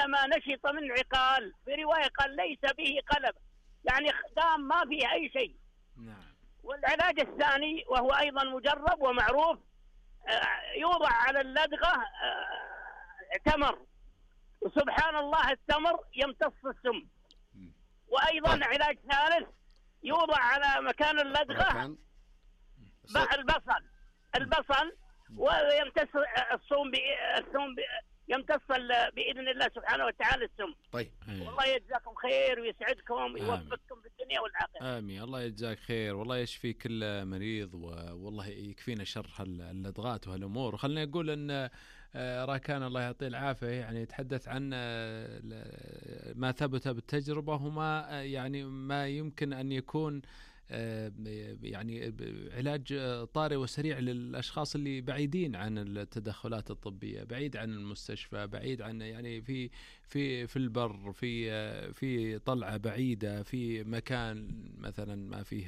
كلما نشط من عقال، في رواية قال ليس به قلب، يعني دام ما فيه أي شيء. نعم. والعلاج الثاني وهو أيضا مجرب ومعروف، يوضع على اللدغة تمر، وسبحان الله التمر يمتص السم. وأيضا علاج ثالث يوضع على مكان اللدغة البصل ويمتص السم يمتص بإذن الله سبحانه وتعالى السم. طيب والله يجزاكم خير ويسعدكم ويوفقكم في الدنيا والآخرة. آمين. الله يجزاك خير، والله يشفي كل مريض، والله يكفينا شر اللدغات وهالأمور. وخلنا نقول أن راكان الله يعطيه العافية يعني يتحدث عن ما ثبت بالتجربة، وما يعني ما يمكن أن يكون يعني علاج طارئ وسريع للأشخاص اللي بعيدين عن التدخلات الطبية، بعيد عن المستشفى، بعيد عن يعني في البر، في طلعة بعيدة، في مكان مثلا ما فيه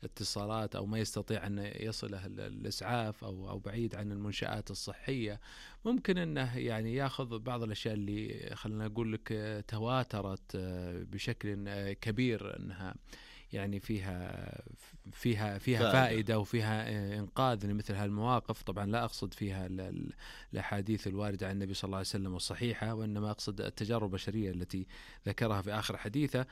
اتصالات أو ما يستطيع أن يصله الإسعاف، أو بعيد عن المنشآت الصحية. ممكن أنه يعني يأخذ بعض الأشياء اللي خلنا نقول لك تواترت بشكل كبير أنها يعني فيها فائدة وفيها إنقاذ لمثل هالمواقف. طبعا لا أقصد فيها الأحاديث الواردة عن النبي صلى الله عليه وسلم والصحيحة، وإنما أقصد التجارب البشرية التي ذكرها في آخر حديثه.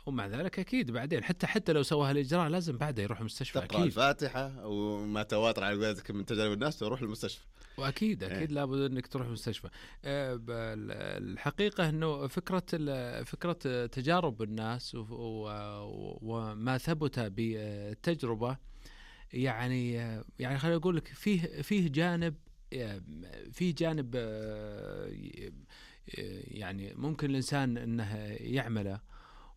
ومع ذلك أكيد بعدين حتى لو سوى هالإجراء لازم بعده يروح المستشفى، تقرأ الفاتحة وما تواتر على قولتك من تجارب الناس تروح المستشفى. وأكيد لابد أنك تروح المستشفى. الحقيقة أنه فكرة تجارب الناس وما ثبت بالتجربة يعني خليني أقول لك فيه جانب يعني ممكن الإنسان أنه يعمله،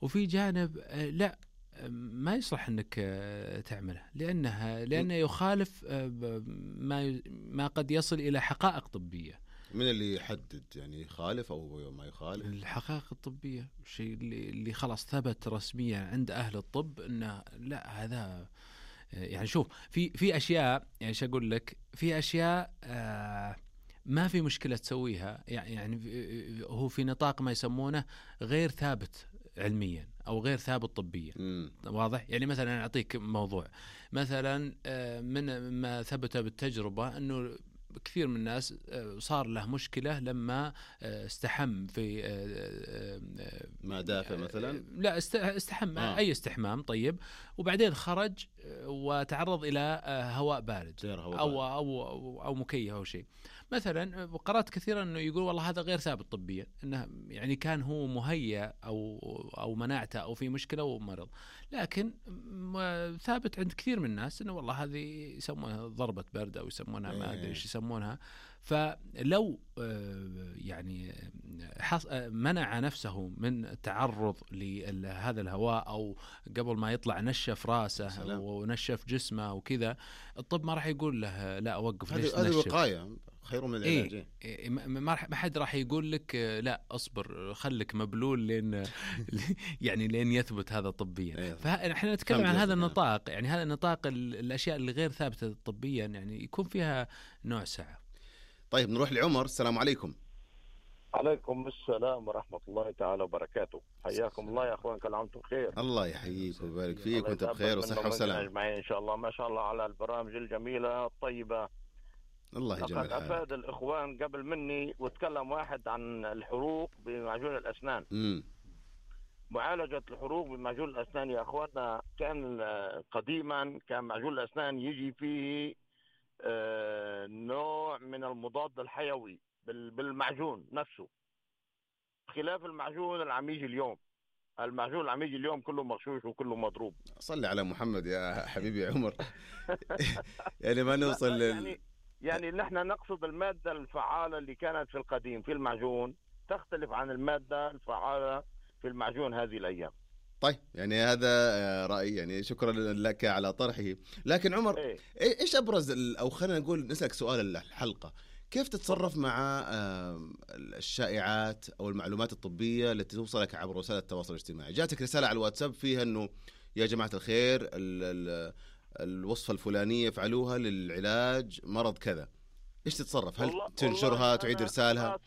وفي جانب لا ما يصلح أنك تعمله، لأنه يخالف ما قد يصل إلى حقائق طبية. من اللي يحدد يعني يخالف أو ما يخالف؟ الحقائق الطبية، الشيء اللي خلاص ثبت رسميا عند أهل الطب أنه لا هذا يعني شوف في أشياء، يعني شو أقول لك، في أشياء ما في مشكلة تسويها، يعني هو في نطاق ما يسمونه غير ثابت علميا أو غير ثابت طبيا. واضح؟ يعني مثلا أعطيك موضوع، مثلا من ما ثبت بالتجربة أنه كثير من الناس صار له مشكلة لما استحم في ما دافع مثلا، لا استحم أي استحمام طيب، وبعدين خرج وتعرض إلى هواء بارد أو مكيف أو شيء مثلا. قرأت كثيرا أنه يقول والله هذا غير ثابت طبيا، أنه يعني كان هو مهيأ أو مناعته أو في مشكلة ومرض، لكن ثابت عند كثير من الناس أنه والله هذه يسمونها ضربة برد أو يسمونها ما أدري إيش يسمونها. فلو يعني منع نفسه من التعرض لهذا الهواء، أو قبل ما يطلع نشف راسه ونشف جسمه وكذا، الطب ما راح يقول له لا أوقف، ليش تنشف؟ هذه وقاية خير من العلاج. ما حد راح يقول لك لا أصبر خلك مبلول لين يثبت هذا طبيا. فإحنا نتكلم عن هذا النطاق، يعني هذا النطاق الأشياء اللي غير ثابتة طبيا يعني يكون فيها نوع سعة. طيب نروح لعمر. السلام عليكم. عليكم السلام ورحمة الله تعالى وبركاته. حياكم الله يا أخوان، كل عام وانتم بخير. الله يحييك ويبارك فيك وانت بخير وصحة وسلامة أجمعين إن شاء الله. ما شاء الله على البرامج الجميلة الطيبة. الله يجمل لقد أفاد الإخوان قبل مني وتكلم واحد عن الحروق بمعجون الأسنان. معالجة الحروق بمعجون الأسنان يا أخواننا، كان قديما كان معجون الأسنان يجي فيه نوع من المضاد الحيوي بالمعجون نفسه، خلاف المعجون العميجي اليوم. المعجون العميجي اليوم كله مغشوش وكله مضروب. صلي على محمد يا حبيبي عمر. يعني ما نوصل يعني نحن نقصد المادة الفعالة اللي كانت في القديم في المعجون تختلف عن المادة الفعالة في المعجون هذه الأيام. طيب يعني هذا رأيي، يعني شكرا لك على طرحه. لكن عمر إيش أبرز أو خلينا نقول نسألك سؤال الحلقة، كيف تتصرف مع الشائعات أو المعلومات الطبية التي توصلك عبر وسائل التواصل الاجتماعي؟ جاتك رسالة على الواتساب فيها أنه يا جماعة الخير الوصفة الفلانية فعلوها للعلاج مرض كذا، إيش تتصرف؟ هل تنشرها تعيد إرسالها؟